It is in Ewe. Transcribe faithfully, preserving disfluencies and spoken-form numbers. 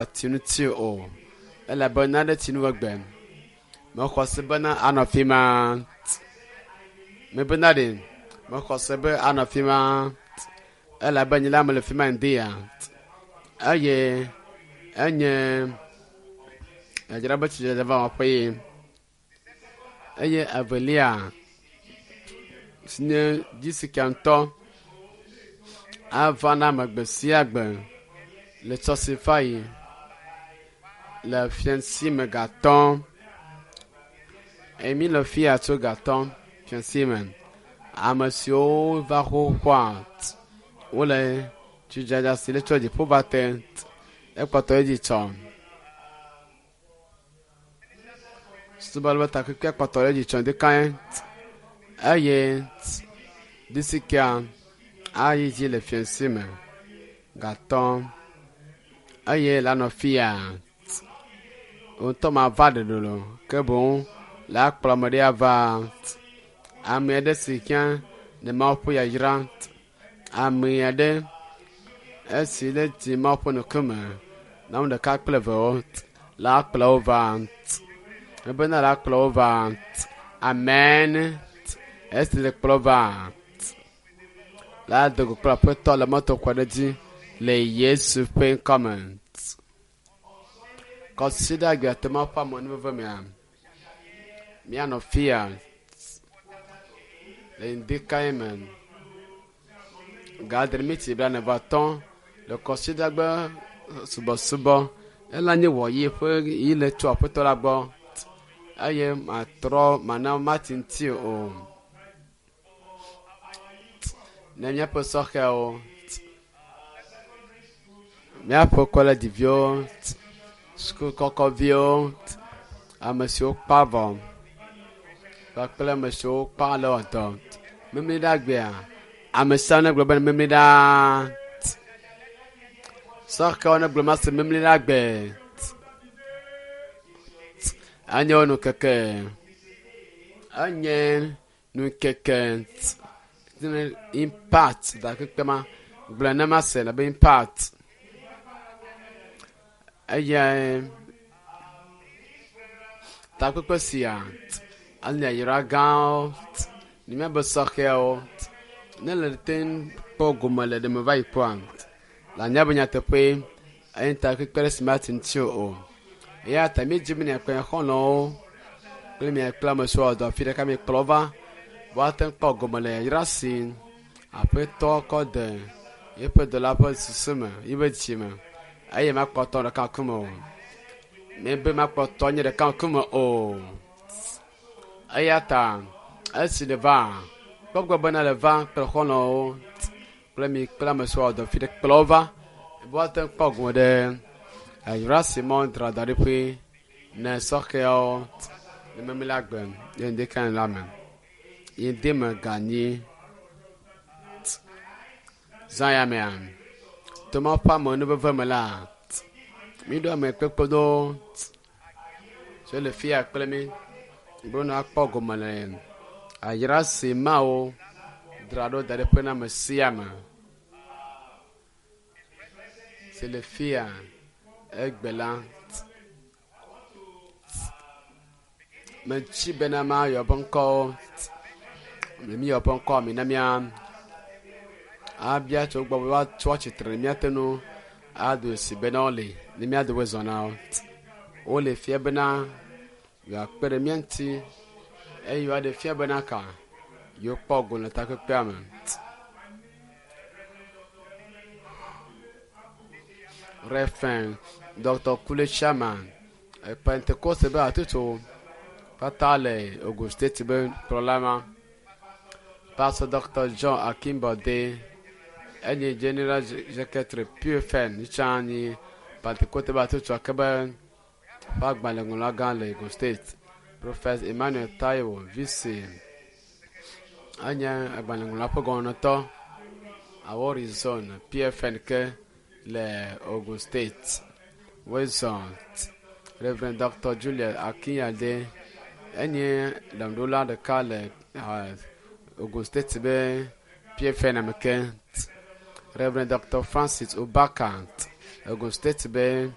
Ati ŋuti o elabe nane tsi nu egbe. Mexɔ se bena anɔ fi ma. Mebena ɖe mexɔ se be anɔ fi ma elabe nye la mele fi ma ŋdi ya eye enye yadzra be tsidzedze va wɔƒe ye eye evelia si nye dzisika ŋutɔ ava na ame gbe sia gbe le tsɔsi va yi le fiasi me gatɔ eye mi le fi ya tso gatɔ fiasi me ame siwo va xoxoa wole tsidzadza si le tso dziƒo va te ekpɔtɔ edzi tsɔ subɔlawo takpekpe kpɔtɔ ɖe edzi tsɔ ɖekae eye disika ayi dzi le fiasi me gatɔ eye le anɔ fi ya ŋutɔ ma va ɖeɖe lo ke boŋ le akplɔ ame ɖe ava ame aɖe si ke le Mawu ƒe yayra ame aɖe esi le dzi Mawu ƒe ŋkume na ame ɖeka kple evewo le akplɔ wo va ebena le akplɔ wo va amen esi le kplɔ va la do go kple aƒetɔ le mɔto kɔ ɖe dzi le Yesu ƒe ŋkɔme. Kɔsiɖa gbe Mawu ƒe amenuveve mea míanɔ fi ya le ŋdikae me ga adre miti blaene vɔ atɔ̃ le kɔsiɖagbe subɔsubɔ ela nye wɔyi ƒe yi le tso aƒetɔ la gbɔ eye matrɔ mana mati ŋuti o ne míaƒe sɔhɛwo míaƒe kɔledziviwo sukukɔkɔviwo ame siwo kpa vɔ kpakple ame siwo kpa le dɔ memli ɖe agbea ame sia ame negblɔ be memli ɖaa sɔhɛwo negblɔ ma se memli ɖe agbe enye wo nukeke enye nukeke impact da kpekpe ma gblɔ ne ma se le be impact eye takpekpe sia anye yayra gãwo ne míabe sɔhɛwo ne le te kpɔ gome le ɖeme va yi kpɔa le anya be nyateƒe eye takpekpe ɖe si mate ŋuti o eya ta míedzi be miakpe xɔlɔ̃wo kple miakple ame siwo wɔ dɔ afi ɖeka miekplɔ va woate ŋu kpɔ gome le yayra si aƒetɔ kɔ de yeƒe dɔla ƒe susu me yiƒe dzi me eye makpɔtɔ ɖeka ŋkume o mebe makpɔtɔ nye ɖeka ŋkume o eya ta esi le va kpɔgbɔ bena le va kple xɔlɔ̃wo kple mi kple ame siwo wɔ dɔ fi ɖe kplɔ wo va be woate ŋu kpɔ gome ɖe yayra si mɔ dzra da ɖi ƒe ne sɔhɛwo ne memli agbe ye ŋdeka la me yi de me ganyi zã ya mea to Mawu ƒe amenuveve me la míɖo ame kpekpe ɖewo siwo le fi ya kple mí be wonɔ akpɔ gome le ayra si Mawu dzra ɖo da ɖi ƒe na ame sia ame si le fi ya egbe la metsi bena mayɔ ƒe ŋkɔwo ne míyɔ ƒe ŋkɔ mi na mía abia tso gbɔ be woatso atsitre ne míate ŋu ado si bena wole ne míado be zɔ na wo wole fia bena yewoakpe ɖe mía ŋuti eye yewoaɖe fia bena ka yewokpɔ go le takpekpea me. Reverend Dr. Kule Sherman Pentecost be hatutu kpata le Ogun State be kplɔla ma. Pastor Dr. John Akinbode enye General Secretary PFN tsã nyi Pentecost be hatutu ake be ƒe agbalẽŋlɔla gã le Ogun State. Prophet Emmanuel Taiwo VC enye agbalẽŋlɔla ƒe gɔmenɔtɔ Awori Zone PFN ke le Ogun State. Wezɔn Reverend Dr. Julius Akinyade enye ɖaŋuɖola ɖeka le uh, Ogun State be PFN ame ke. Reverend Dr. Francis Obaka Ogun State be